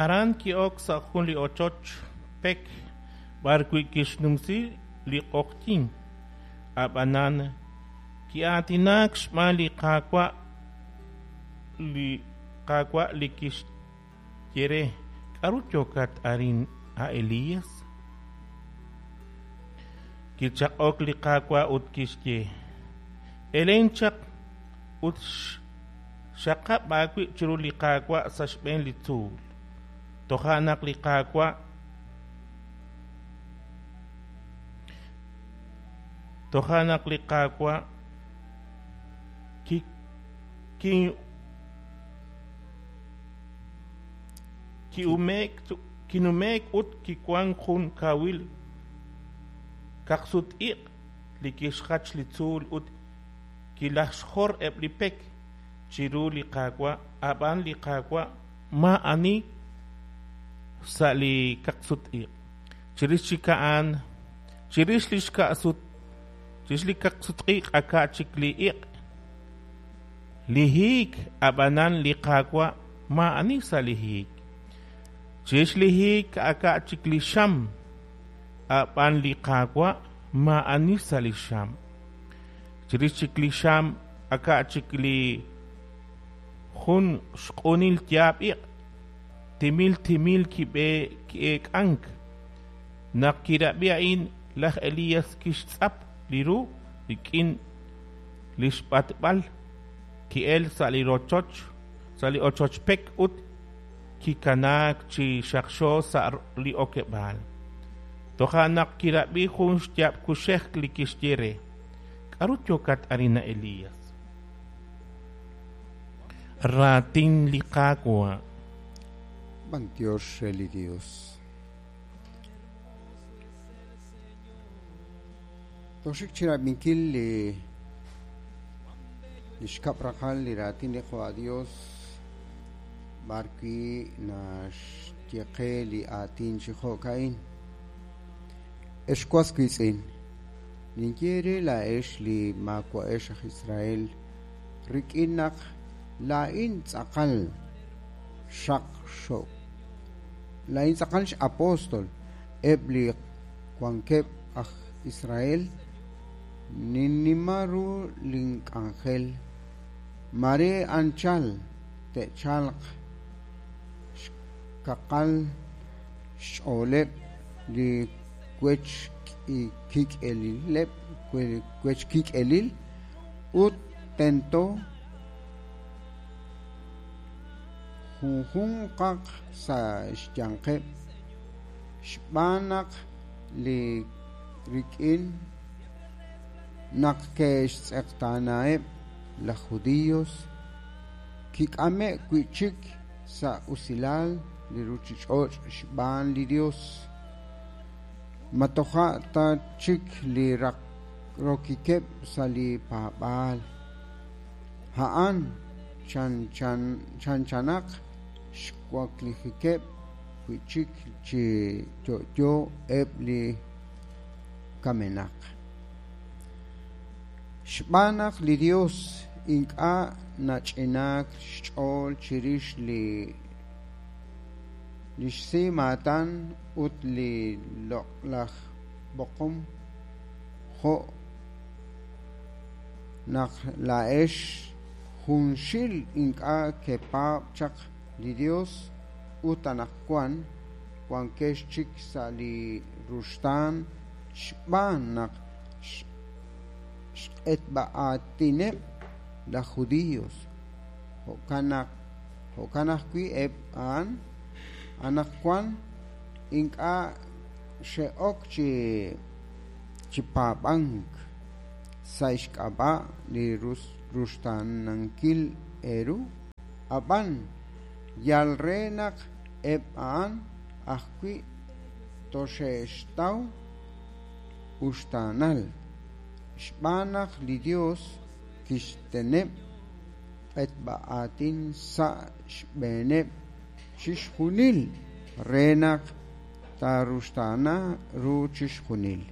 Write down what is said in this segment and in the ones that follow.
Aran ki'ok sa' jun li ochoch pek b'arwi' kixnumsi li q'oqyink. Ab'anan ki'aatinaak xb'aan li Qaawa' li Qaawa' li kixye re: K'aru yookat arin, a Elías? Kichaq'ok li Qaawa' ut kixye: Elen chaq ut xaqab' aawib' chiru li Qaawa' sa' xb'een li tzuul. Toja' naq li Qaawa' Toja' naq li Qaawa' kinume'k ut kiwank jun kawil kaqsut-iq' li kixjach li tzuul ut kilajxjor eb' li pek chiru li Qaawa', ab'an li Qaawa' maa'ani sa' li kaqsut-iq'. Chirix chik a'an, chirix li chirix li kaqsut-iq' aka' chik li iq', li hiik, ab'anan li Qaawa' maa'ani sa' li hiik. Chirix li hiik aka' chik li xam, ab'an li Qaawa' maa'ani sa' li xam. Chirix chik li xam aka' chik li jun xq'unil yaab' iq', timil timil kib'e ki'eek'ank. Naq kirab'i a'in, laj Elías kixtz'ap li ru rik'in li xb'atb'al, ki'elk sa' li rochoch, sa' li ochoch pek ut kikanaak chi xaqxo sa' li okeb'aal. Toja' naq kirab'i jun xyaab' kuxej li kixye re: K'aru yookat arin, a Elías? Raatin li Qaawa'. B'antiox re li Dios. Toxik chi rab'inkil li li xkab' raqal li raatin li Qaawa' Dios b'ar wi' naxye qe li aatin chi jo'ka'in. Ex was wiitz'in, ninye eere laa'ex li maawa'ex aj Israel, rik'in naq laa'in tz'aqal xaqxo laa'in tz'aqal x'apóstol eb' li wankeb' aj Israel, ninnima ru link'anjel, mare anchal te'chalq xkaqal xch'ooleb' li wech kik'elileb' wech kik'elil ut tento junjunqaq sa' xyanqeb' xb'aan naq li rik'in naq ke'xtz'eqtaanaheb' laj judíos kik'ame'k wi' chik sa' usilal li ruuchich'och' xb'aan li Dios. Ma toja' ta chik li rokikeb' sa' li paab'aal. A'an chanchanaq xwaklijikeb' wi' chik chi yo'yo eb' li kamenaq. Xb'aan naq li Dios ink'a' nach'inaak xch'ool chirix li li xsimaatan ut li loq'laj b'oqom jo' naq laa'ex junxil ink'a' kepaab' chaq li Dios ut anaqwan wankex chik sa' li ruxtaan xb'aan naq xq'etb'a-aatineb' laj judíos. Jo'kan naq jo'kan ajwi' eb' a'an anaqwan ink'a' xe'ok chi chi paab'ank sa' xk'ab'a' li ruxtaanankil eeru, ab'an yal re naq eb' a'an ajwi' toxe'xtaw uxtaanal, xb'aan naq li Dios kixteneb' q'etb'a-aatin sa' xb'eeneb' chixjunil re naq taaruxtaana ru chixjunil.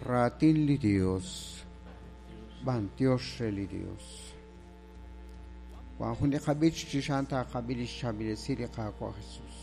Raatin li Dios. B'antiox re li Dios. Wan jun li qab'ich chirix a'an taaqab'i lix chaab'il esil li Qaawa' Jesus.